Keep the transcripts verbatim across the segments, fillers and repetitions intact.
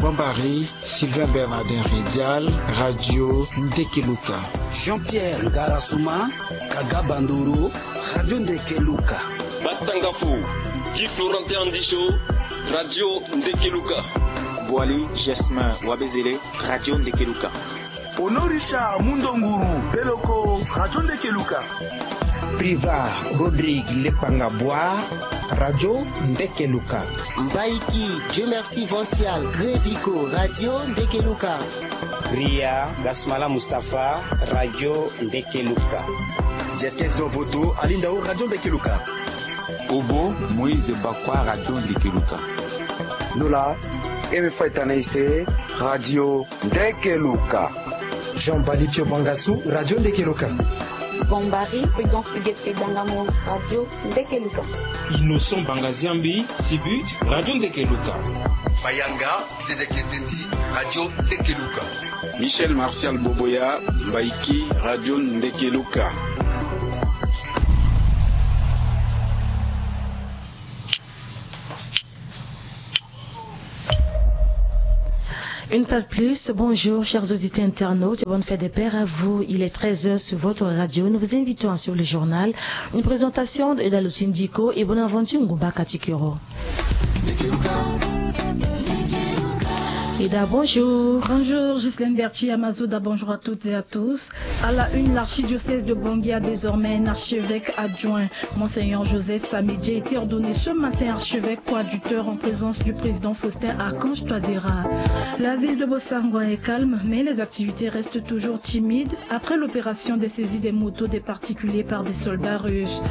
Jean-Marie Sylvain Bernardin Ridial, Radio Ndekeluka. Jean-Pierre Ngarasuma, Kaga Bandoro, Radio Ndekeluka. Batangafo, Guy Florentin Andicho, Radio Ndekeluka. Boali Jasmin Wabezele, Radio Ndekeluka. Honoré Richard Mundonguru Beloko, Radio Ndekeluka. Priva Rodrigue Lepanga Bois, Radio Ndekeluka. Mbaiki Dieu Merci Vancial Grevico, Radio Ndekeluka. Ria Gasmala Mustapha, Radio Ndekeluka. Jeskes Dovoto Alindao, Radio Ndekeluka. Obo Moïse Bakwa, Radio Ndekeluka. Nola Eme Faitanaise, Radio Ndekeluka. Jean Balipio Bangasu, Radio Ndekeluka. Gombari Prudence Huguette Dangamo, Radio Ndekeluka. Innocent Bangaziambi Sibut, Radio Ndekeluka. Mayanga Dede Ketendi, Radio Ndekeluka. Michel Martial Boboya, Mbaiki, Radio Ndekeluka. Une fois de plus, bonjour chers auditeurs internautes et bonne fête des pères à vous. Il est treize heures sur votre radio. Nous vous invitons à suivre le journal. Une présentation de Edalo Tindiko et Bonaventure Ngumba Katikero. Eda, bonjour. Bonjour, Ghislaine Berti Amazoda, bonjour à toutes et à tous. À la une, l'archidiocèse de Bangui a désormais un archevêque adjoint. Monseigneur Joseph Samedi a été ordonné ce matin archevêque coadjuteur en présence du président Faustin Archange Touadéra. La ville de Bossangoa est calme, mais les activités restent toujours timides après l'opération de saisie des motos des particuliers par des soldats russes.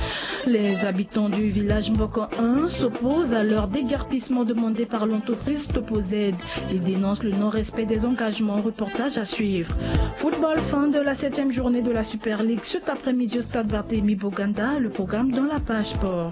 Les habitants du village Mboko un s'opposent à leur déguerpissement demandé par l'entreprise Topo Z. Ils dénoncent le non-respect des engagements. Reportage à suivre. Football, fin de la septième journée de la Super League cet après-midi au stade Barthélemy Boganda. Le programme dans la page sport.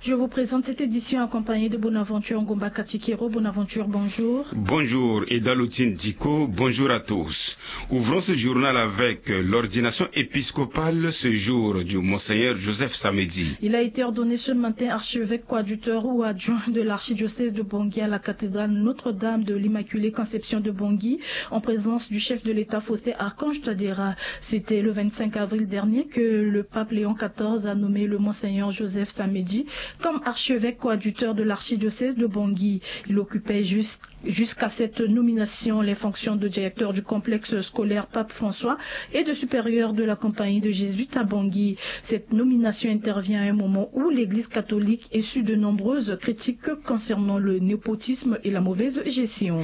Je vous présente cette édition accompagnée de Bonaventure Ngomba Katikero. Bonaventure, bonjour. Bonjour, Edalo Tindiko, bonjour à tous. Ouvrons ce journal avec l'ordination épiscopale ce jour du Monseigneur Joseph Samedi. Il a été ordonné ce matin archevêque coadjuteur ou adjoint de l'archidiocèse de Bangui à la cathédrale Notre-Dame de l'Immaculée Conception de Bangui, en présence du chef de l'État Faustin Archange Touadéra. C'était le vingt-cinq avril dernier que le pape Léon quatorze a nommé le Monseigneur Joseph Samedi comme archevêque coadjuteur de l'archidiocèse de Bangui. Il occupait juste jusqu'à cette nomination, les fonctions de directeur du complexe scolaire Pape François et de supérieur de la compagnie de jésuites à Bangui. Cette nomination intervient à un moment où l'Église catholique essuie de nombreuses critiques concernant le népotisme et la mauvaise gestion.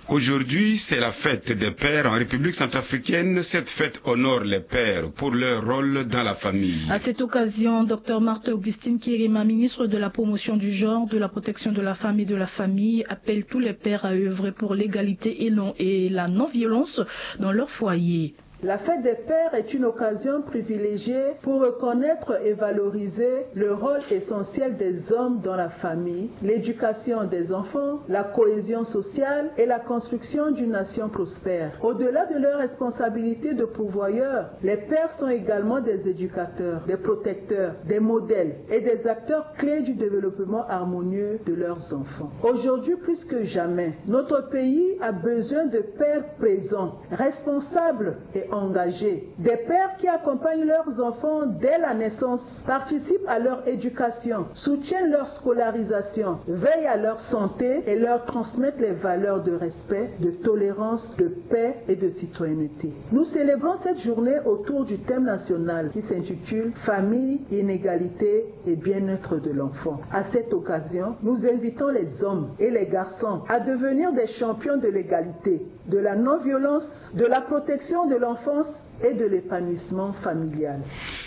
Aujourd'hui, c'est la fête des pères en République centrafricaine. Cette fête honore les pères pour leur rôle dans la famille. À cette occasion, docteur Marthe Augustine Kirima, ministre de la Promotion du genre, de la Protection de la femme et de la famille, appelle tous les pères à œuvrer pour l'égalité et non-, et la non-violence dans leur foyer. La fête des pères est une occasion privilégiée pour reconnaître et valoriser le rôle essentiel des hommes dans la famille, l'éducation des enfants, la cohésion sociale et la construction d'une nation prospère. Au-delà de leur responsabilité de pourvoyeur, les pères sont également des éducateurs, des protecteurs, des modèles et des acteurs clés du développement harmonieux de leurs enfants. Aujourd'hui, plus que jamais, notre pays a besoin de pères présents, responsables et engagés. Des pères qui accompagnent leurs enfants dès la naissance, participent à leur éducation, soutiennent leur scolarisation, veillent à leur santé et leur transmettent les valeurs de respect, de tolérance, de paix et de citoyenneté. Nous célébrons cette journée autour du thème national qui s'intitule Famille, inégalité et bien-être de l'enfant. À cette occasion, nous invitons les hommes et les garçons à devenir des champions de l'égalité, de la non-violence, de la protection de l'enfance et de l'épanouissement familial.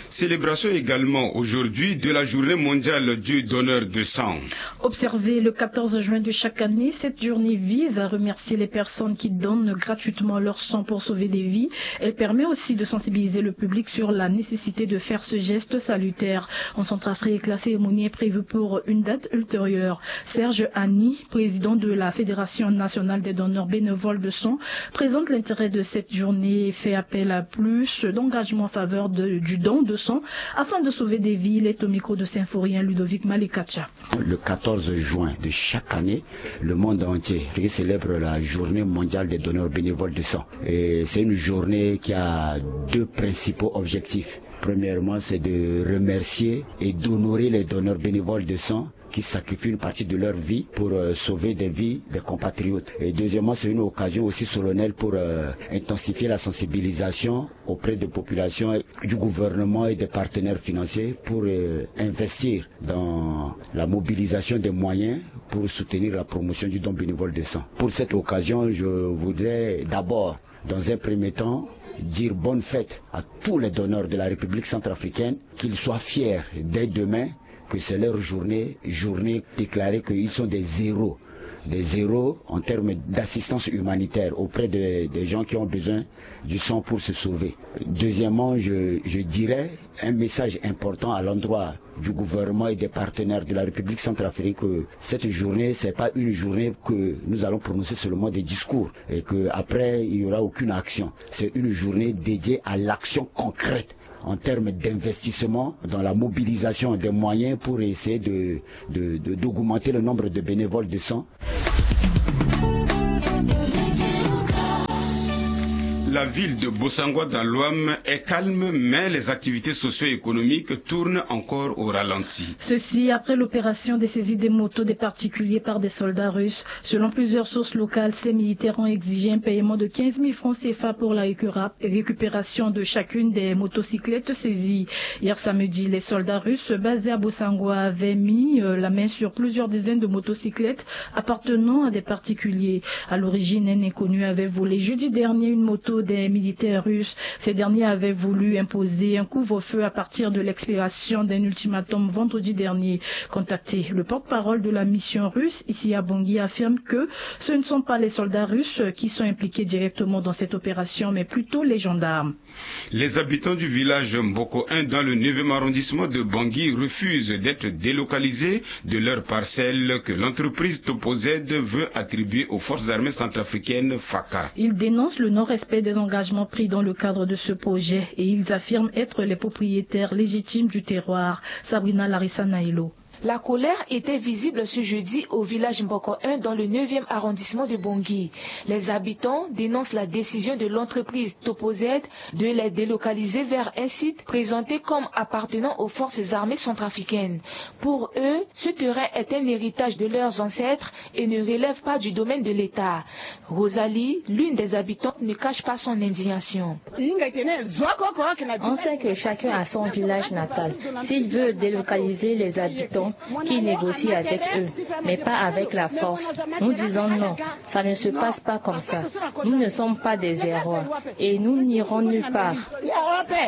Célébration également aujourd'hui de la journée mondiale du donneur de sang. Observée le quatorze juin de chaque année, cette journée vise à remercier les personnes qui donnent gratuitement leur sang pour sauver des vies. Elle permet aussi de sensibiliser le public sur la nécessité de faire ce geste salutaire. En Centrafrique, la cérémonie est prévue pour une date ultérieure. Serge Annie, président de la Fédération nationale des donneurs bénévoles de sang, présente l'intérêt de cette journée et fait appel à plus d'engagement en faveur de- du don de sang afin de sauver des vies. Il est au micro de Symphorien Ludovic Malikacha. Le quatorze juin de chaque année, le monde entier célèbre la journée mondiale des donneurs bénévoles de sang. Et c'est une journée qui a deux principaux objectifs. Premièrement, c'est de remercier et d'honorer les donneurs bénévoles de sang qui sacrifient une partie de leur vie pour euh, sauver des vies des compatriotes. Et deuxièmement, c'est une occasion aussi solennelle pour euh, intensifier la sensibilisation auprès des populations, du gouvernement et des partenaires financiers pour euh, investir dans la mobilisation des moyens pour soutenir la promotion du don bénévole de sang. Pour cette occasion, je voudrais d'abord, dans un premier temps, dire bonne fête à tous les donneurs de la République centrafricaine, qu'ils soient fiers dès demain que c'est leur journée, journée déclarée qu'ils sont des héros, des héros en termes d'assistance humanitaire auprès de- des gens qui ont besoin du sang pour se sauver. Deuxièmement, je, je dirais un message important à l'endroit du gouvernement et des partenaires de la République centrafricaine que cette journée, c'est pas une journée que nous allons prononcer seulement des discours et que après il y aura aucune action. C'est une journée dédiée à l'action concrète en termes d'investissement dans la mobilisation des moyens pour essayer de- de- de- d'augmenter le nombre de bénévoles de sang. La ville de Bossangwa dans l'Ouham est calme, mais les activités socio-économiques tournent encore au ralenti. Ceci après l'opération de saisie des motos des particuliers par des soldats russes. Selon plusieurs sources locales, ces militaires ont exigé un paiement de quinze mille francs C F A pour la récupéra- récupération de chacune des motocyclettes saisies. Hier samedi, les soldats russes basés à Bossangwa avaient mis euh, la main sur plusieurs dizaines de motocyclettes appartenant à des particuliers. À l'origine, un inconnu avait volé jeudi dernier une moto des militaires russes. Ces derniers avaient voulu imposer un couvre-feu à partir de l'expiration d'un ultimatum vendredi dernier. Contacté, le porte-parole de la mission russe ici à Bangui affirme que ce ne sont pas les soldats russes qui sont impliqués directement dans cette opération, mais plutôt les gendarmes. Les habitants du village Mboko un dans le neuvième arrondissement de Bangui refusent d'être délocalisés de leur parcelle que l'entreprise Topozed veut attribuer aux forces armées centrafricaines FACA. Ils dénoncent le non-respect des engagements pris dans le cadre de ce projet et ils affirment être les propriétaires légitimes du terroir. Sabrina Larissa Nailo. La colère était visible ce jeudi au village Mboko un dans le neuvième arrondissement de Bangui. Les habitants dénoncent la décision de l'entreprise Topozed de les délocaliser vers un site présenté comme appartenant aux forces armées centrafricaines. Pour eux, ce terrain est un héritage de leurs ancêtres et ne relève pas du domaine de l'État. Rosalie, l'une des habitantes, ne cache pas son indignation. On sait que chacun a son village natal. S'il veut délocaliser les habitants, qu'il négocie avec eux, mais pas avec la force. Nous disons non, ça ne se passe pas comme ça. Nous ne sommes pas des erreurs et nous n'irons nulle part.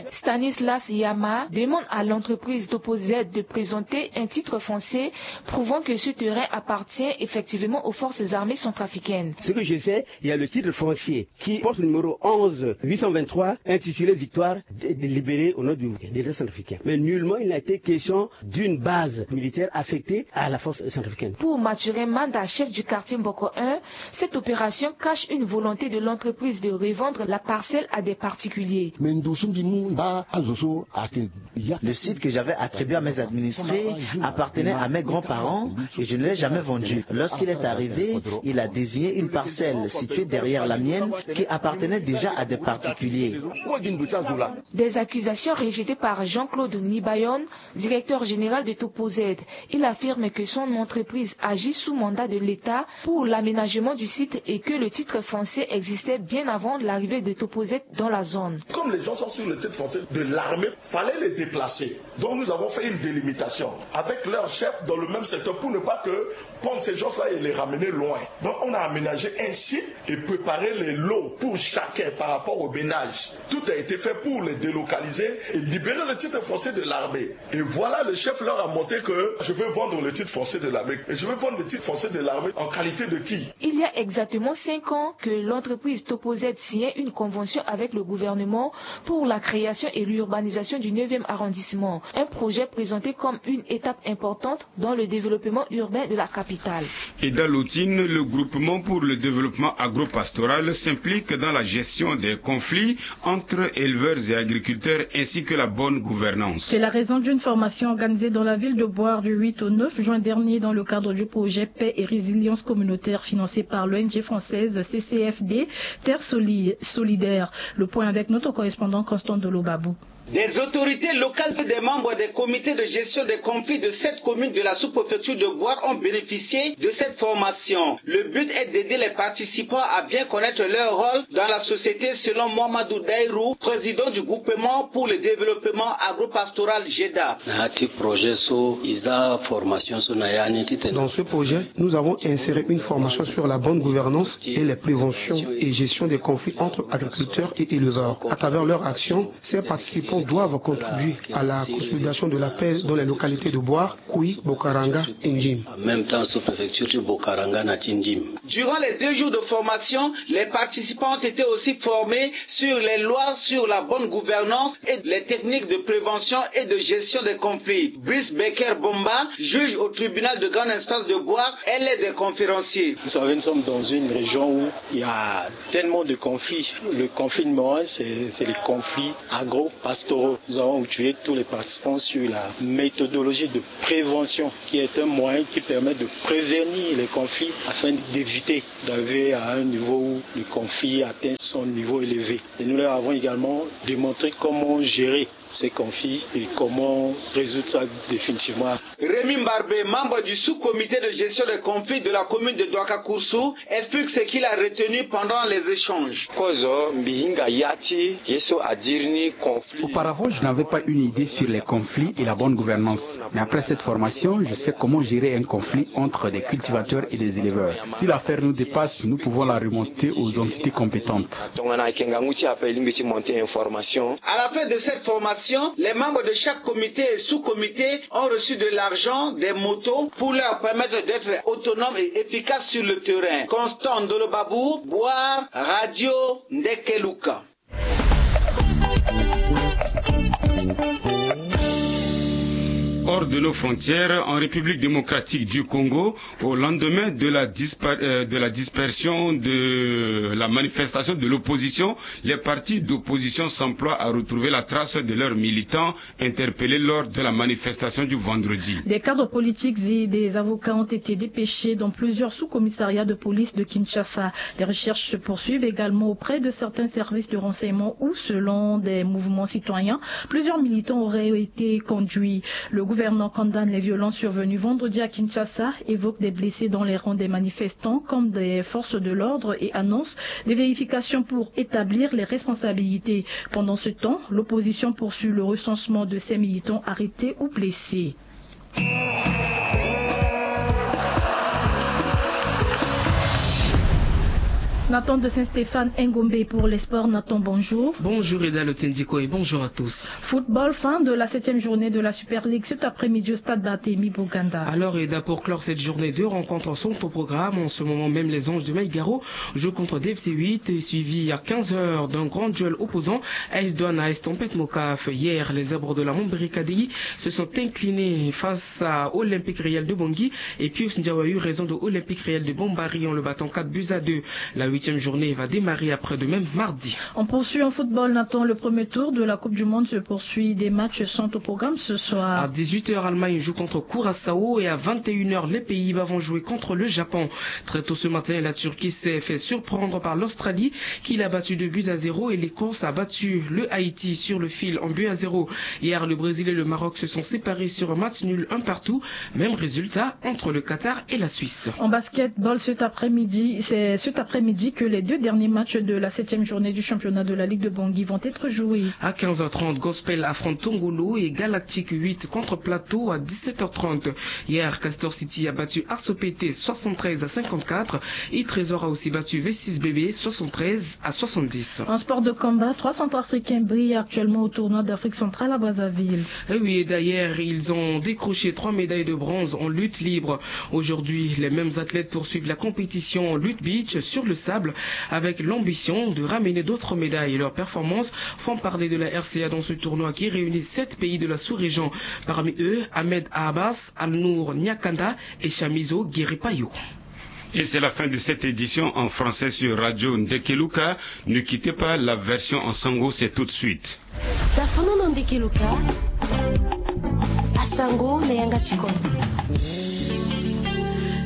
Stanislas Yama demande à l'entreprise Topozed de présenter un titre foncier prouvant que ce terrain appartient effectivement aux forces armées centrafricaines. Ce que je sais, il y a le titre foncier qui porte le numéro onze huit cent vingt-trois intitulé Victoire de- délibérée au nom du de l'État centrafricain. Mais nullement il n'a été question d'une base militaire affectée à la force centrafricaine. Pour Mathurin Manda, chef du quartier Mboko un, cette opération cache une volonté de l'entreprise de revendre la parcelle à des particuliers. Mais ndo so mbi mu mba azo so ayeke ya. Le site que j'avais attribué à mes administrés appartenait à mes grands-parents et je ne l'ai jamais vendu. Lorsqu'il est arrivé, il a désigné une parcelle située derrière la mienne qui appartenait déjà à des particuliers. Des accusations rejetées par Jean-Claude Nibayon, directeur général de Topozed. Il affirme que son entreprise agit sous mandat de l'État pour l'aménagement du site et que le titre foncier existait bien avant l'arrivée de Topozed dans la zone. Comme les gens sont sur le titre foncier de l'armée, fallait les déplacer. Donc nous avons fait une délimitation avec leur chef dans le même secteur pour ne pas que prendre ces gens-là et les ramener loin. Donc on a aménagé un site et préparé les lots pour chacun par rapport au ménage. Tout a été fait pour les délocaliser et libérer le titre foncier de l'armée. Et voilà, le chef leur a montré que Je vais vendre le titre foncier de l'Amérique. Et je vais vendre le titre foncier de l'armée en qualité de qui? Il y a exactement cinq ans que l'entreprise Topoz signait une convention avec le gouvernement pour la création et l'urbanisation du neuvième arrondissement, un projet présenté comme une étape importante dans le développement urbain de la capitale. Et dans l'Otine, le groupement pour le développement agro-pastoral s'implique dans la gestion des conflits entre éleveurs et agriculteurs ainsi que la bonne gouvernance. C'est la raison d'une formation organisée dans la ville de Boire du huit au neuf juin dernier dans le cadre du projet Paix et résilience communautaire financé par l'O N G française C C F D, Terre Soli- Solidaire. Le point avec notre correspondant Constant Dolobabou. Des autorités locales et des membres des comités de gestion des conflits de sept communes de la sous-préfecture de Boire ont bénéficié de cette formation. Le but est d'aider les participants à bien connaître leur rôle dans la société, selon Mohamedou Dairou, président du groupement pour le développement agro-pastoral GEDA. Na ya ti projet so e za formation so na ya ni titene. Dans ce projet, nous avons inséré une formation sur la bonne gouvernance et les préventions et gestion des conflits entre agriculteurs et éleveurs. À travers leur action, ces participants doivent contribuer à la consolidation de la paix dans les localités de Boire, Koui, Bokaranga et Ndim. En même temps, sous-préfecture ti Bokaranga na ti Ndim. Durant les deux jours de formation, les participants ont été aussi formés sur les lois sur la bonne gouvernance et les techniques de prévention et de gestion des conflits. Brice Becker Bomba, juge au tribunal de grande instance de Boire, est l'un des conférenciers. Vous savez, nous sommes dans une région où il y a tellement de conflits. Le conflit numéro un, c'est c'est les conflits agro-pastoraux. Nous avons outillé tous les participants sur la méthodologie de prévention, qui est un moyen qui permet de prévenir les conflits afin d'éviter d'arriver à un niveau où le conflit atteint son niveau élevé. Et nous leur avons également démontré comment gérer ces conflits et comment résoudre ça définitivement. Rémi Mbarbe, membre du sous-comité de gestion des conflits de la commune de Douaka-Koursou, explique ce qu'il a retenu pendant les échanges. Kozo mbi hinga ya ti ye so adiri ni conflit. Auparavant, je n'avais pas une idée sur les conflits et la bonne gouvernance. Mais après cette formation, je sais comment gérer un conflit entre des cultivateurs et des éleveurs. Si l'affaire nous dépasse, nous pouvons la remonter aux entités compétentes. Tongana ayeke ngangu ti ape e lingbi ti monter information. À la fin de cette formation, les membres de chaque comité et sous-comité ont reçu de l'argent, des motos pour leur permettre d'être autonomes et efficaces sur le terrain. Constant Ndolobabou, Boire, Radio Ndekeluka. Hors de nos frontières, en République démocratique du Congo, au lendemain de la, dispar- euh, de la dispersion de la manifestation de l'opposition, les partis d'opposition s'emploient à retrouver la trace de leurs militants interpellés lors de la manifestation du vendredi. Des cadres politiques et des avocats ont été dépêchés dans plusieurs sous-commissariats de police de Kinshasa. Les recherches se poursuivent également auprès de certains services de renseignement où, selon des mouvements citoyens, plusieurs militants auraient été conduits. Le gouvernement condamne les violences survenues vendredi à Kinshasa, évoque des blessés dans les rangs des manifestants comme des forces de l'ordre et annonce des vérifications pour établir les responsabilités. Pendant ce temps, l'opposition poursuit le recensement de ces militants arrêtés ou blessés. Nathan de Saint-Stéphane Ngombe pour les sports. Nathan, bonjour. Bonjour Eda Lotendiko et bonjour à tous. Football, fin de la septième journée de la Super League cet après-midi au stade Barthélemy Boganda. Alors Eda, pour clore cette journée, deux rencontres sont au programme. En ce moment même, les Anges de Maïgaro jouent contre D F C huit, suivi à quinze heures d'un grand duel opposant. A S Douanes A S Tempête Mocaf. Hier, les Zèbres de la Mombri Kadéi se sont inclinés face à Olympique Réel de Bangui et Pius Ndiaye a eu raison de Olympique Réel de Bombari en le battant quatre buts à deux. La huitième journée va démarrer après-demain, mardi. On poursuit en football, Nathan. Le premier tour de la Coupe du Monde se poursuit. Des matchs sont au programme ce soir. À dix-huit heures, Allemagne joue contre Curaçao et à vingt et une heures, les Pays-Bas vont jouer contre le Japon. Très tôt ce matin, la Turquie s'est fait surprendre par l'Australie, qui l'a battu deux buts à zéro, et l'Écosse a battu le Haïti sur le fil en but à zéro. Hier, le Brésil et le Maroc se sont séparés sur un match nul un partout. Même résultat entre le Qatar et la Suisse. En basketball cet après-midi, c'est cet après-midi Que les deux derniers matchs de la septième journée du championnat de la Ligue de Bangui vont être joués. À quinze heures trente, Gospel affronte Tongolo et Galactique huit contre Plateau à dix-sept heures trente. Hier, Castor City a battu Arso P T soixante-treize à cinquante-quatre et Trésor a aussi battu V six B B soixante-treize à soixante-dix. En sport de combat, trois centrafricains brillent actuellement au tournoi d'Afrique centrale à Brazzaville. Et oui, et d'ailleurs, ils ont décroché trois médailles de bronze en lutte libre. Aujourd'hui, les mêmes athlètes poursuivent la compétition en lutte beach sur le sable avec l'ambition de ramener d'autres médailles. Leurs performances font parler de la R C A dans ce tournoi qui réunit sept pays de la sous-région. Parmi eux, Ahmed Abbas, Alnour Nyakanda et Chamizo Guiripayo. Et c'est la fin de cette édition en français sur Radio Ndekeluka. Ne quittez pas la version en sango, c'est tout de suite. Tafana na Ndekeluka, asango na yanga ti kodro.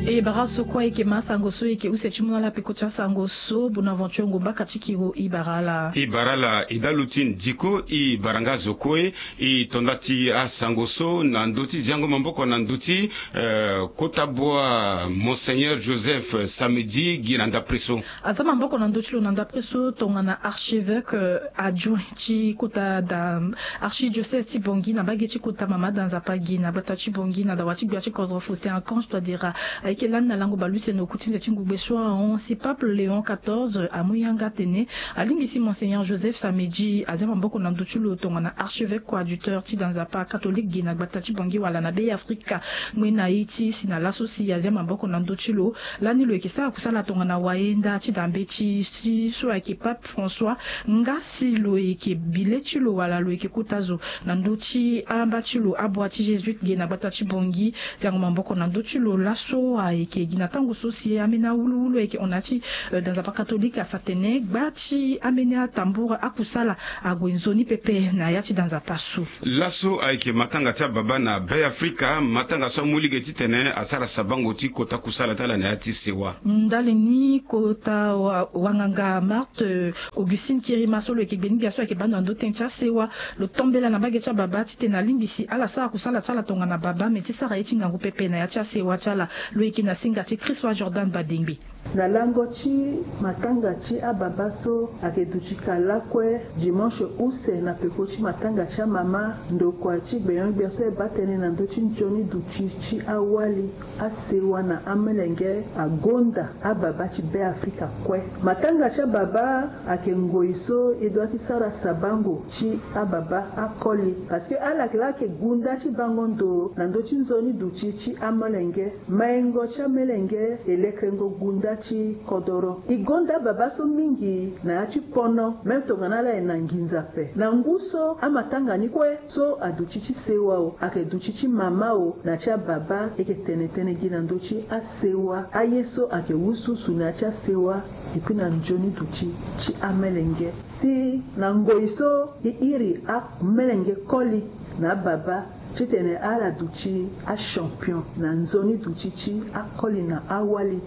E bara so kue ayeke ma sango so e yeke use ti mu na ala peko ti asango so. Bonaventure Ngumba ka ti kiro, e bara ala. E bara ala, e dalu ti ndiko, e bara nga zo kue. E tonda ti asango so na ndö ti ziango maboko na ndö ti, eh, kota bua Monseigneur Joseph Samedi gi na ndapre so. Aza maboko na ndö ti lo na ndapre so tongana archevêque, euh, adjoint ti kota da archidiocèse ti Bangui na mbage ti kota mama da Nzapa gi na gbata ti Bangui na dawa ti gbia ti kodro Faustin Archange Touadéra. Ayeke lani na lango bale use na oku ti nze ti ngugbe so ahon si Pape Léon quatorze amu yanga atene alingbi si Monseigneur Joseph Samedi azia maboko na ndö ti lo tongana archevêque coadjuteur ti da Nzapa catholique gi na gbata ti Bangui wala na Be Afrika. Ngbene na ye ti si na laso si azia maboko na ndö ti lo. Lani lo yeke sara kusala tongana wayenda ti da mbeti ti so ayeke Pape François. Nga si lo yeke bi le ti lo wala lo yeke kota zo na ndö ti amba ti lo abua ti Jésuite ge na gbata ti Bangui. Ziango maboko na ndö ti lo laso ayeke gi na tango so si ambeni awuluwulu ayeke hon na ya ti, eh, da Nzapa catholique afa tene gba ti ambeni atambura akusala ague nzoni pepe na ya ti da Nzapa so. Laso ayeke matanga ti ababa na Be Afrika, matanga so amu lege titene asara sabango ti kota kusala ti ala na ya ti sewa. Ndali ni kota wa-, wanganga Marthe, euh, Augustine Kirima so lo yeke gbe ni gbia so ayeke baa ndo na ndö tënë ti asewa, lo tombela na mbage ti ababa titene alingbi si ala sara kusala ti ala tongana baba me ti sara ye ti ngangu pepe na ya ti asewa ti ala. Lo yeke na singa ti Christ wa Jordan Badengbe. Na lango ti matanga ti ababa so ayeke duti ka lakue dimanche use na peko ti matanga ti amama, ndokua ti gbenyo-gbia so e baa tënë na ndö ti nzoni duti ti awali, asewa na amelenge agonda ababa ti Be Afrika kue. Matanga ti ababa ayeke ngoi so e doit ti sara sabango ti ababa akoli, parce que ala yeke laa ayeke gunda ti bango ndo na ndö ti nzoni duti ti amelenge. Maingo ti amelenge e lekerengo gunda ti kodoro. E gonda ababa so mingi na ya ti pono, même tongana ala yeke na nginza ape. Na ngu so amatanga ni kue so aduti ti sewa o, ayeke duti ti mama o na ti ababa, e yeke tene tënë gi na ndö ti asewa, aye so ayeke wusuwusu na ya ti asewa, et puis na nzoni duti ti amelenge. Si na ngoi so e iri amelenge koli na ababa titene ala duti achampion na nzoni duti ti akoli na awali.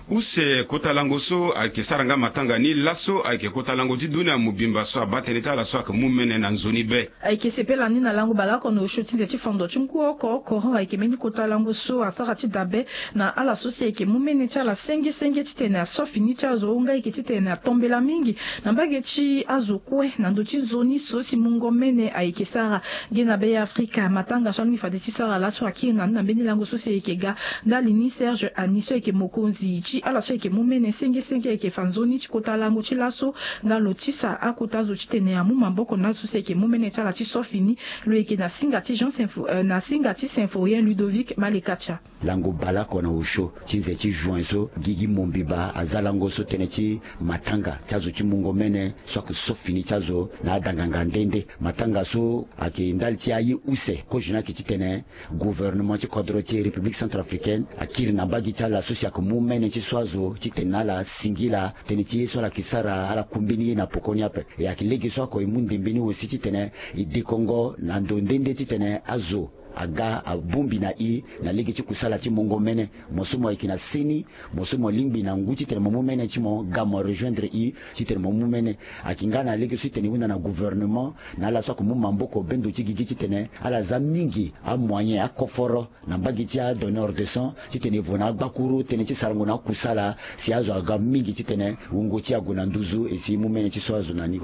Use kota lango so ayeke sara nga matanga ni laso ayeke kota lango ti dunia mobimba so abaa tënë ti ala so ayeke mu mene na nzoni be. Ayeke sepela ni na lango baleoko na osio ti nze ti fondo ti ngu oko, Coran ayeke mbeni kota lango so asara ti dabe na ala so si ayeke mu mene ti ala senge senge titene aso fini ti azo, nga ayeke titene atombela mingi na mbage ti azo kue na ndö ti nzoni so si mungo mene ayeke sara. Ge na Be Afrika, matanga so alingbi fade ti sara laso akiri na ni na mbeni lango so si ayeke ga ndali ni Serge Ani so ayeke mokonzi ti ala so ayeke mu mene senge senge ayeke fa nzoni ti kota lango ti laso. Nga lo tisa akota zo titene amu maboko na azo so si ayeke mu mene ti ala ti so fini. Lo yeke na singa ti Jean Sympho-, euh, na singa ti Symphorien Ludovic Malekatia. Lango baleoko na osio ti nze ti juin so, Gigi Mombiba aza lango so tënë ti matanga ti azo ti mungo mene so ayeke so fini ti azo na adanganga nde nde. Matanga so ayeke ndali ti aye use, kozo ni ayeke titene gouvernement ti kodro ti République centrafricaine akiri na mbage ti ala so si ayeke mu mene ti so azo titene na ala singila tënë ti ye so ala yeke sara, ala ku mbeni ye na poko ni ape. E ayeke lege so oko e mu ndembe ni aussi titene e dekongo na ndo nde nde titene azo aga abongbi na e na lege ti kusala ti mungo mene. Mo so mo yeke na seni, mo so mo lingbi na ngu titene mo mu mene ti mo ga mo rejoindre e titene mo mu mene. Ayeke nga na lege so titene e hunda na gouvernement na ala so ako mu maboko bendo ti gigi titene ala za mingi amoyen akoforo na mbage ti adonneur de sang titene e vo na agbakuru tënë ti sarango na akusala si azo aga mingi titene wungo ti e ague na nduzu e si e mu mene ti so azo na ni.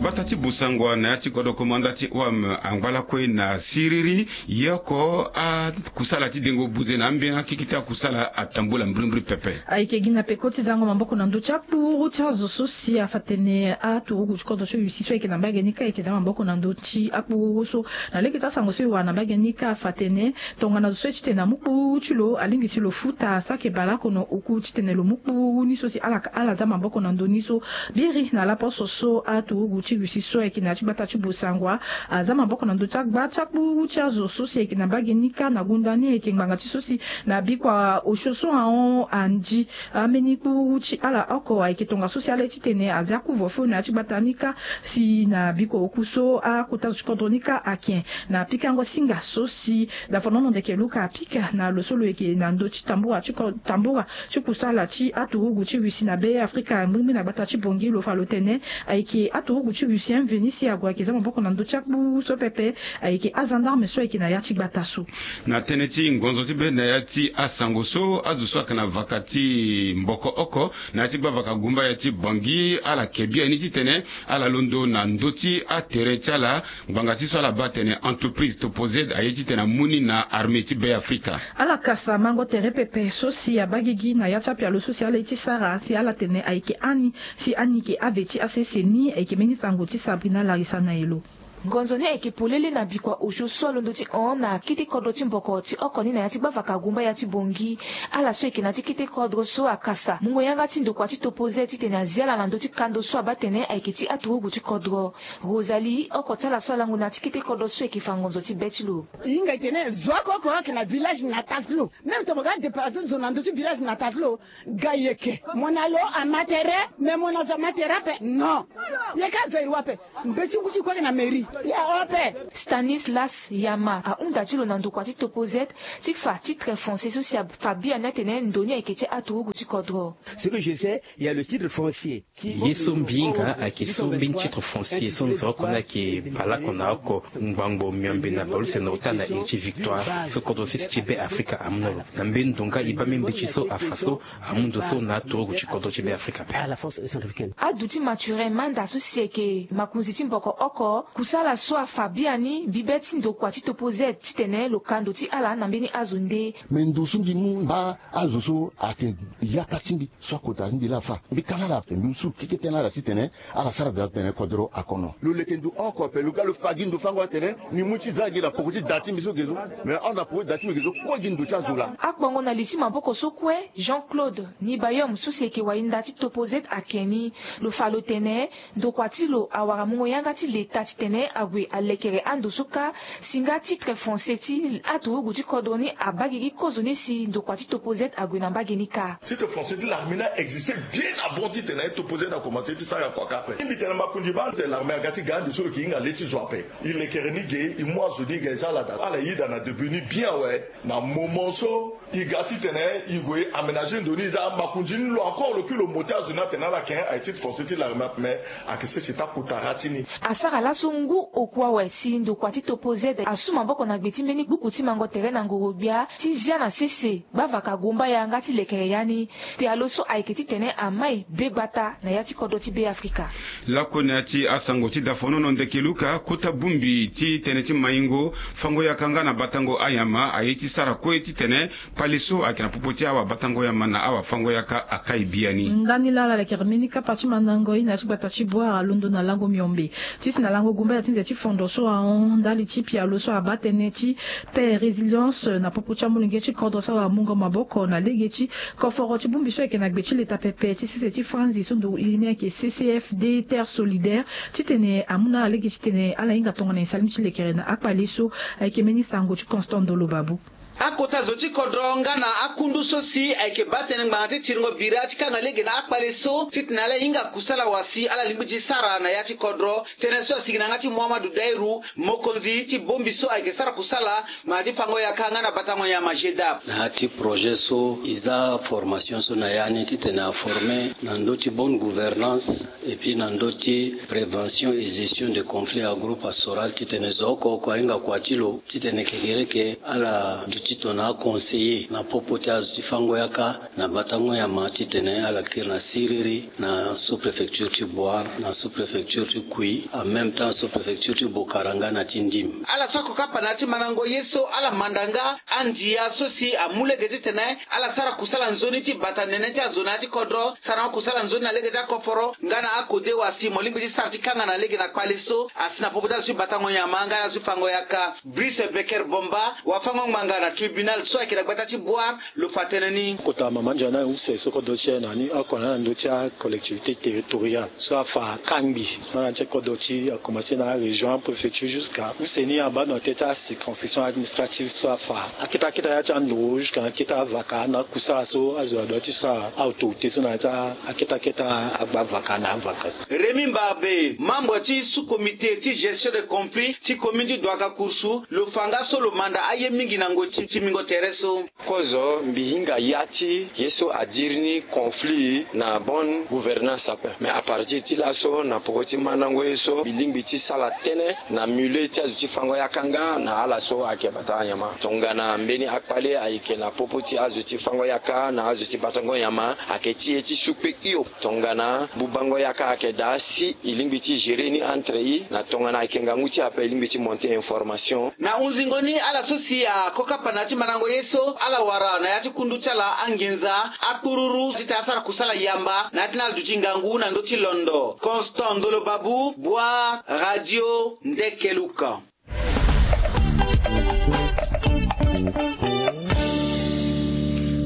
Gbata ti Bossangoa na ya ti kodro komanda ti O M angba lakue na siriri. Ye oko akusala ti dengo buze na ambeni akeke ti akusala atambula mbrimbri pepe. Ayeke gi na peko ti zango maboko na ndö ti akpuru ti azo so si afa tene aturugu ti kodro ti Russie so ayeke na mbage ni kâ ayeke za maboko na ndö ti akpuru so. Na lege ti asango so e wara na mbage ni kâ afa tene tongana zo so ye titene amu kpuru ti lo alingbi si lo futa saki baleoko na oku titene lo mu kpuru ni so si ala ala za maboko na ndö ni so. Biri na laposo so aturugu ti Russie so ayeke na ya ti gbata ti Bossangoa aza maboko na ndö ti agba ti akpuru ti azo so si ayeke na mbage ni kâ na gunda ni ayeke ngbanga ti so si na bikua osio so ahon andi ambeni kpuru ti ala oko ayeke tongaso si ala ye titene aza couvre-feu na ya ti gbata ni kâ. Si na bikua oku so akota zo ti kodro ni kâ ake na pikango singa so si dafonono ndeke luka apika na lo so lo yeke na ndö ti tambura ti ko tambura ti kusala ti aturugu ti Russie na Be Afrika mbrimbri na gbata ti Bangui lo fa lo tene ayeke aturugu ti Russie amveni si ague ayeke za maboko na ndö ti akpuru so pepe. Ayeke agendarme so ayeke na ya ti gbata so. Na tënë ti ngonzo ti be na ya ti asango so azo so ayeke na vaka ti mboko oko na ya ti gbavaka gumbaya ti Bangui ala ke biani titene ala londo na ndö ti atere ti ala ngbanga ti so ala baa atene entreprise Topoz aye titene amu ni na armée ti Be Afrika. Ala kasa mango tere pepe so si abaa gigi na ya ti apialo so si ala ye ti sara si ala tene ayeke ani si ani yeke ave ti asese ni ayeke mbeni sango ti Sabrina Larisa na e lo. Ngonzo ni ayeke polele na bikua osio so alondo ti hon na kete kodro ti mboko ti oko ni na ya ti gbavaka gumbaya ti Bangui. Ala so ayeke na ya ti kete kodro so akasa mungo yanga ti ndokua ti Topoz titene azi ala na ndö ti kando so abaa atene ayeke ti aturugu ti kodro. Rosalie oko ti ala so alango na ya ti kete kodro so ayeke fa ngonzo ti be ti lo. E hinga e tene zo oko oko ayeke na village natal ti lo. Même tongana mo ga déplacer zo na ndö ti village natal ti lo, ga yeke mo na lo ama tere. Mais mo na zo ama tere ape non. Yeke azairoi ape. Mbeti ngu ti kue ayeke na mairie ya ape. Stanislas Yama ahunda ti lo na ndokua ti Topoz ti fa titre foncier so si afa biani atene ndo ni ayeke ti aturugu ti kodro. Ce que je sais, il y a le titre foncier. Ye so mbi hinga ayeke so mbeni titre foncier so nzoni oko ni ayeke baleoko na oko ngbangbo miombe na baleuse na ota na iri ti victoire so kodro sese ti Be Afrika amu na lo. Na mbeni ndo nga e baa mbeni mbeti so afa so amu ndo so na aturugu ti kodro ti Be Afrika ape. Aduti Mathurin Manda so si ayeke makonzi ti mboko oko kusala so afa biani mbi be ti ndokua ti Topoz titene lo ka ndo ti ala na mbeni azo nde. Me ndo so mbi mu baa azo so ayeke yaka ti mbi so akota ti mbi laa afa mbi ka na ala ape mbi mu su keke tënë na ala titene ala sara daa titene kodro akono. Lo leke ndo oko ape lo ga lo fa gi ndo fango atene ni mu ti za gi na poko ti da ti mbi so ge so. Mais ahon na poko ti da ti mbi ge so kue gi ndo ti azo laa. Akpongo na li ti maboko so kue Jean Claude Nibayom so si ayeke wahinda ti Topoz ake ni lo fa lo tene ndokua ti lo awara mungo yanga ti leta titene ague alekere ando so kâ. Si nga titre foncier ti aturugu ti kodro ni abaa gigi kozo ni si ndokua ti Topoz ague na mbage ni kâ. Titre foncier ti larme ni a existe bien avant titene aye Topoz akomanse ti sara kua kâ ape. Mbi tene makonzi baa tene larme aga ti ga ande so lo yeke hinga le ti zo ape. E lekere ni ge e mu azo ni ga e za ala daa ala yeda na debut ni bien awe. Na moment so e ga titene e gue e aménager ndo ni e za amakonzi ni lo encore lo kue lo mo ti azo ni atene ala yeke aye titre foncier ti larme ape mais ayeke sese ti akota ra ti ni. Asara laso ngu oku awe si ndokua ti Topoz asu maboko na gbe ti mbeni gbuku ti mango tere na ngoro-gbia ti zia na sese gbavaka gumbaya nga ti lekere ya ni. Pialo so ayeke titene amai be gbata na ya ti kodro ti Be Afrika. Lakue na ya ti asango ti dafonono ndeke luka kota bongbi ti tënë ti maingo fango yaka nga na batango ayama aye ti sara kue titene kpale so ayeke na popo ti awabatango yama na awafango yaka akai biani. Ndani laa ala lekere mbeni kapa ti mandango ye na ya ti gbata ti Bouar alondo na lango miombe. Ti si na lango gumbaya ti nze ti fondo so ahon ndali ti pialo so abaa tënë ti paix résilience na popo ti amolenge ti kodro so awamungo maboko na lege ti koforo ti bongbi so ayeke na gbe ti leta pepe ti sese ti franzi so ndo iri ni ayeke C C F D Terre Solidaire titene amu na ala lege titene ala hinga tongana e sali ni ti lekere na akpale so. Ayeke mbeni sango ti Constant Ndolo Babou. Akota zo ti kodro nga na akundu so si ayeke baa tënë ngbanga ti tiringo bira ti kanga lege na akpale so titene ala hinga kusala wa si ala lingbi ti sara na ya ti kodro. Tënë so asigi na yanga ti Muhammadu Dairu, mokonzi ti bongbi so ayeke sara kusala ma ti fango yaka nga na batango nyama G D A P. Na ya ti projet so e za formation so na ya ni titene aforme na ndö ti bonne gouvernance et puis na ndö ti prévention et gestion de conflit agro-pastoral titene zo oko oko ahinga kua ti lo titene kekereke ala duti tongana aconseiller na popo ti azo ti fango yaka na batango nyama titene ala kiri na siriri na sous-préfecture ti Bouar, na sous-préfecture ti Kouyi, en même temps sous-préfecture ti Bokara nga na ti Ndim. Ala so akokapa na ya ti mandango ye so ala manda nga andia so si amu lege titene ala sara kusala nzoni ti bata nene ti azo na ya ti kodro, sarango kusala nzoni na lege ti akoforo nga na akode wa si mo lingbi ti sara ti kanga na lege na kpale so asi na popo ti azo ti batango nyama nga na azo ti fango yaka. Brice Becker Bomba, wafango ngbanga na tribunal so ayeke na gbata ti Bouar, lo fa tënë ni. Kota mama nzoni na use so kodro ti e na ni oko na ndö ti acollectivité territoriale so afa kangbi. Nga na ti kodro ti akomanse na arégion, apréfecture jusqu'à use ni abaa na tënë ti acirconscription administrative so afa akete akete ya ti ando jusqu'à akete avaka na akusala so azo adua ti sara autorité so na ya ti akete akete agba vaka na avaka so. Rémy Mbarbe, membre ti sous-comité ti gestion de conflit ti commune ti Douagakourou, lo fa nga so lo manda aye mingi na ngoi ti mingo tere so. Kozo mbi hinga ya ti ye so adiri ni conflit na bonne gouvernance ape. Mais à partir ti laso na poko ti mandango ye so mbi lingbi ti sala tënë na milieu ti azo ti fango yaka nga na ala so ayeke bata nyama. Tongana mbeni akpale ayeke na popo ti azo ti fango yaka na azo ti batango nyama, ayeke ti e ti su kpe hio. Tongana bubango yaka ayeke daa si e lingbi ti gérer ni entre e, na tongana ayeke ngangu ti e ape e lingbi ti monter information. Na hunzingo ni ala so si akokapa na ya ti mandango ye so ala wara na ya ti kundu ti ala anginza akpururu titene asara kusala yamba na ya ti na ala duti ngangu na ndö ti londo. Constant Ndolo Babu, Bouar, Radio Ndekeluka.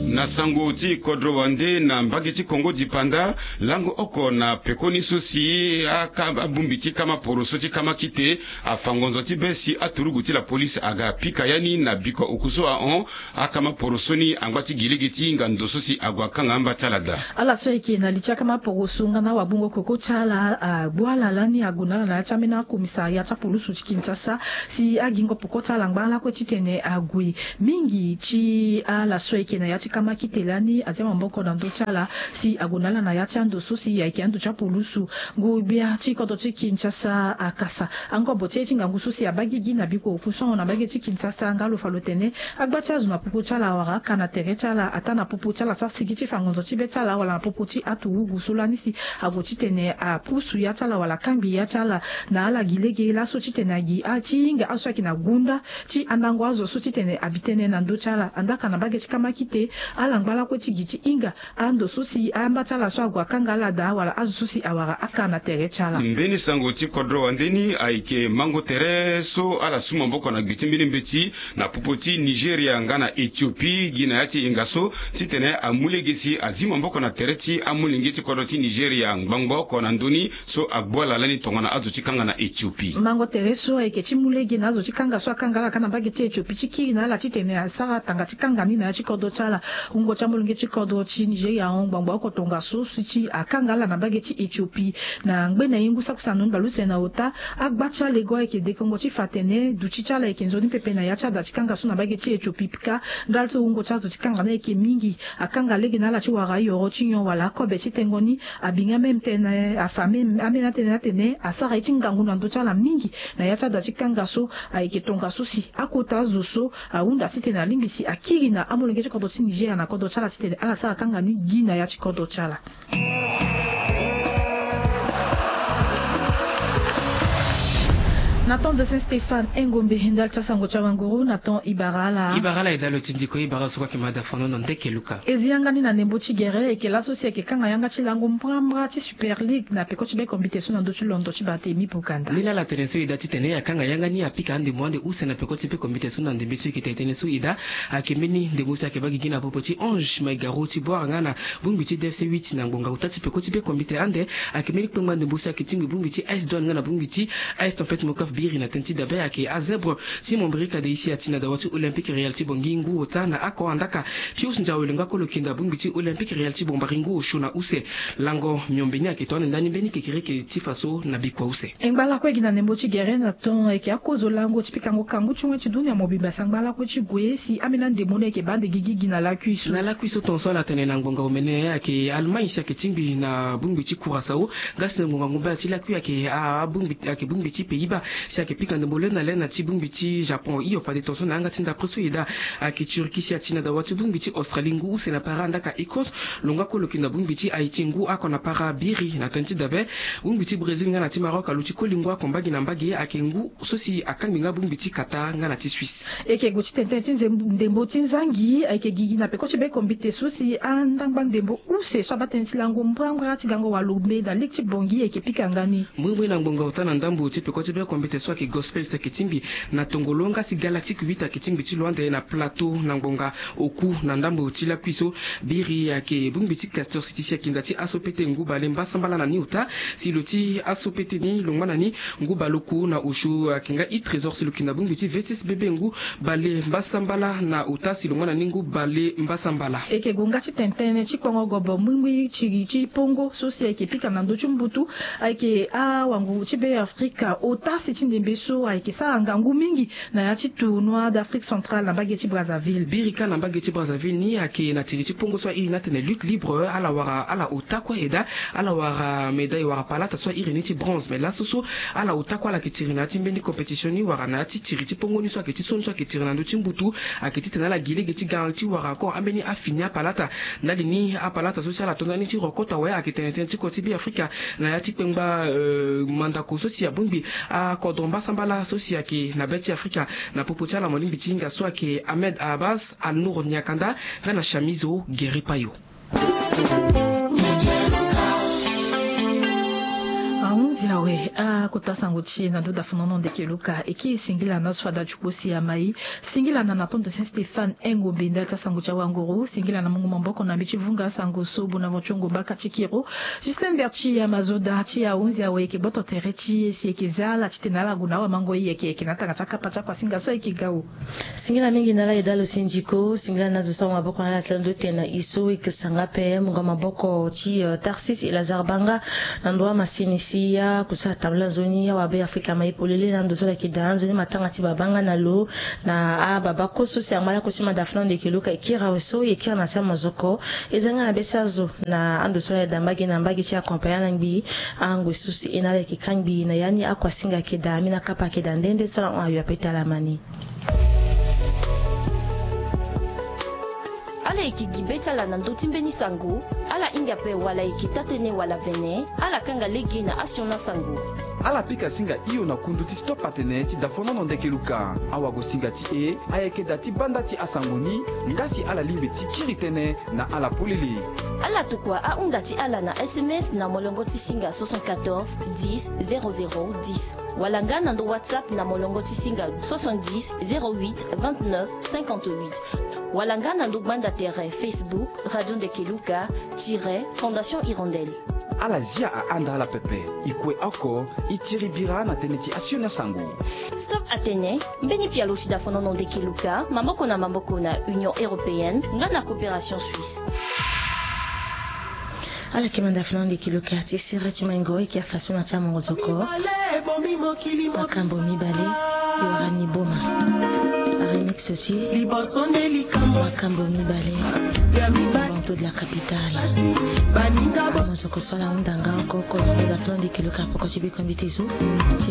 Na sango ti kodro wande na mbage ti Kongo dipanda, lango oko na pekoni so si aka abongbi ti kama poroso ti kama kite afa ngonzo ti be si aturugu ti la police aga pika ya ni na bikua oku so ahon. Akama poroso ni angba ti gi lege ti hinga ndo so si ague akanga amba ti ala daa. Ala so ayeke na li ti akama poroso nga na wabungo koko ti ala agbu ala lani ague na ala na ya ti ambeni akomisaria ti apulusu ti Kinshasa si agingo poko ti ala angba lakue titene ague. Mingi ti ala so ayeke na ya ti kama kite lani azia maboko na ndö ti ala si ague na ala na ya ti ando so si ayeke ando ti apulusu. Ngu-gbia ti kodro ti Kinshasa akasa angobo ti ye ti ngangu so si abaa gigi na bikua oku so ahon na mbage ti Kinshasa nga lo fa lo tene agba ti azo na popo ti ala wala aka na tere ti ala ataa na popo ti ala so asigi ti fa ngonzo ti be ti ala wala na popo ti aturugu so lani si ague titene apusu ya ti ala wala akangbi ya ti ala na ala gi lege laso titene agi a ti hinga azo so ayeke na gonda ti andango azo so titene abi tënë na ndö ti ala. Andaa ka na mbage ti kama kite ala ngba lakue ti gi ti hinga ando so si amba ti ala so ague akanga ala daa wala azo so si awara aka na tere ti ala. Mbeni sango ti kodro wande ni ayeke mango tere so ala su maboko na gbe ti mbeni mbeti na popo ti Nigeria nga na Ethiopie gi na ya ti hinga so titene amu lege si azi maboko na tere ti amolenge ti kodro ti Nigeria ngbangbo oko na ndö ni so agbu ala lani tongana azo ti kanga na Ethiopie. Mango tere so ayeke ti mu lege na azo ti kanga so akanga ala ka na mbage ti Ethiopie ti kiri na ala titene asara tanga ti kanga ni na ya ti kodro ti ala. Wungo ti amolenge ti kodro ti Nigeria ahon ngbangbo oko tongaso si ti akanga ala na mbage ti Ethiopie. Na ngbene ye ngu saki sango ni bale use na ota agba ti alego ayeke dekongo ti fa atene duti ti ala ayeke nzoni pepe na ya ti ada ti kanga so na mbage ti Ethiopie pika ndali ti wungo ti azo ti kanga ni ayeke mingi. Akanga lege na ala ti wara ayoro ti nyon wala akobe ti tengo ni. Abinga même tënë afa même ambeni atënë ni atene asara ye ti ngangu na ndö ti ala mingi na ya ti ada ti kanga so. Ayeke tongaso si akota azo so ahunda titene alingbi si akiri na amolenge ti kodro ti Nigeria na kodro ti ala titene ala sara kanga ni gi na ya ti kodro ti ala. Na temps de Saint Stéphane Engombe ndali ti asango ti awanguru na temps Ibarala. Ibarala e dalo ti ndiko Ibarala so kue ayeke ma da fono na ndeke luka. E zi yanga ni na ndembo ti gere eke laso si ayeke kanga yanga ti lango mbrambra ti Super League na peko ti be kombite so na ndö ti londo ti Barthélemy Boganda. Ni la ala tene so e da titene akanga yanga ni apika andembo ande use na peko ti be kombite so na ndembe so e yeke tene tënë so e da. Ayeke mbeni ndembo so ayeke baa gigi na popo ti Ange Maigaro ti Bouar nga na bongbi ti D F C huit na ngbonga ota ti peko ti be kombite ande. Ayeke mbeni kpengba ndembo so ayeke tingbi bongbi ti A S Douane nga na bongbi ti A S Tempête Mokoff. Biri na tënë ti dabe ayeke azebre ti mombrika de isi ati na dawa ti Olympique Real ti Bangui ngu ota na ako andaka. Pius Ndiawe lo nga kolo kinda bongbi ti Olympique Real ti Bombari ngu osio na use. Lango miombe ni ayeke tonga na ndani mbeni kekereke ti faso na bikua use. E ngba lakue gi na ndembo ti gere na ton ayeke akozo lango ti pikango kangu ti wen ti dunia mobimba si angba lakue ti gue si ambeni andembo ni ayeke baa nde gigi gi na lakui so. Na lakui so ton so ala tene na ngbonga omene ayeke Allemagne si ayeke tingbi na bongbi ti Curaçao. Nga si na ngbonga ngombe ti lakui ayeke abongbi ayeke bongbi ti Pays-Bas si ayeke pika ndembo lena lena ti bongbi ti Japon hio fade ton so na yanga ti ndapre so e daa. Ayeke Turquie si ati na dawa ti bongbi ti Australie ngu use na para andaka Écosse. Lo nga kue lo yeke na bongbi ti Haïti ngu ako na para biri na tënë ti dabe. Bongbi ti Brésil nga na ti Maroc aluti koli ngu ako mbage na mbage ayeke ngu so si akangbi nga bongbi ti Qatar nga na ti Suisse. E yeke gue ti tene tënë ti ndembo ti nzangi ayeke gigi na peko ti be kombite so si andangba ndembo use so abaa tënë ti lango mbrambra ti gango walo mbe na lege ti Bangui ayeke pika nga ni. Mbrimbri na ngbonga ota na ndambo ti peko ti be kombite so ayeke Gospel si ayeke tingbi na tongolo nga si Galactique huit ayeke tingbi ti lo ande na plateau na ngbonga oku na ndambo ti lakui so. Biri ayeke bongbi ti Castor City si ayeke nda ti aso pete ngu bale mbasambala na ni ota. Si lo ti aso pete ni lo ngba na ni ngu bale oku na osio ayeke nga i Trésor si lo yeke na bongbi ti V six B B ngu bale mbasambala na ota si lo ngba na ni ngu bale mbasambala. E yeke gue nga ti tene tënë ti kpongo gobo mbrimbri ti ti pongo so si ayeke pika na ndö ti mbutu. Ayeke awango ti be Afrika ota si ti ndembe so ayeke sara ngangu mingi na ya ti tournoi d'Afrique centrale na mbage ti Brazzaville. Biri kâ na mbage ti Brazzaville ni ayeke na tiri ti pongo so airi ni atene lutte libre ala wara ala ota kue e daa. Ala wara médaille wara palata so airi ni ti bronze mais laso so ala ota kue ala yeke tiri na ya ti mbeni compétition ni wara na ya ti tiri ti pongo ni so ayeke ti so ni so ayeke tiri na ndö ti mbutu. Ayeke titene ala gi lege ti ga ti wara encore ambeni afini apalata. Ndali ni apalata so si ala to ndani ti rokota awe ayeke tene tënë ti kua ti Be Afrika na ya ti kpengba mandako so si abongbi akodro mbasambala so si ayeke na be ti Afrika. Na popo ti ala molingbi ti hinga so ayeke Ahmed Abbas, Alnour Niakanda nga na Chamizo Geripayo. Ahunzi awe akota sango ti e na ndo dafonono ndeke luka e kiri singila na so fada ti kpo si amai. Singila na na tonto Saint Stéphane Engombe ndali ti asango ti awanguru. Singila na mungu maboko na mbi ti vunga asango so Bonaventure Ngomba ka ti kiro. Justin Berti ya mazoda ti ahunzi awe e yeke gboto tere ti e si e yeke za ala titene ala gue na awamango e yeke yeke na atanga ti akapa ti akuasinga so ayeke gao. Singila mingi na ala e dalo si ndiko singila na zo so awa maboko na ala ti ala ndo tene na e so e yeke sanga ape mungo maboko ti Tarsis e Lazare Banga. Na ndo amasini si akusara tambula nzoni awa Be Afrika ma e polele na ndo so ala yeke daa nzoni matanga ti baba nga na lo. Na ababa kue so si angba lakue ti manda fana ndeke luka e kiri awe so e kiri na ti amazoko. E za nga na be ti azo na ando so ala yeda mbage na mbage ti accompagner na ngbii. Angoi so si e na ala yeke kangbi na ya ni akuasinga ayeke daa ambeni akapa ayeke daa nde nde so ala hon ayo ape ti ala ma ni. Ala yeke gi be ti ala na ndö ti mbeni sango. Ala hinga ape wala e yeke taa-tënë wala vene. Ala kanga lege na asioni asango. Ala pika singa hio na kundu ti Stop Atene ti dafonono ndeke luka. Awagosinga ti e ayeke daa ti banda ti asango ni. Nga si ala lingbi ti kiri tënë na ala polele. Ala tokua ahunda ti ala na S M S na molongo ti singa soixante-quatorze dix zéro zéro dix. Wala nga na ndo WhatsApp na molongo ti singa soixante-dix zéro huit vingt-neuf cinquante-huit. Wala nga na ndo gbanda tere Facebook Radio Ndeke Luka tiret Fondation Hirondelle. Ala zia ahanda ala pepe. E kue oko e tiri bira na tënë ti asioni asango. Stop Atene, mbeni pialo ti dafonono ndeke luka maboko na maboko na Union Européenne nga na Coopération Suisse. Ala yeke manda fana ndeke luka ti sere ti maingo e yeke afaso na ti amongo zoko. Makambo mibale e wara ni boma. Aremix ti makambo mibale. Banto de la capitale. Amongo zoko so ala hunda nga oko oko na manda fana ndeke luka poko ti biko mbi ti zo.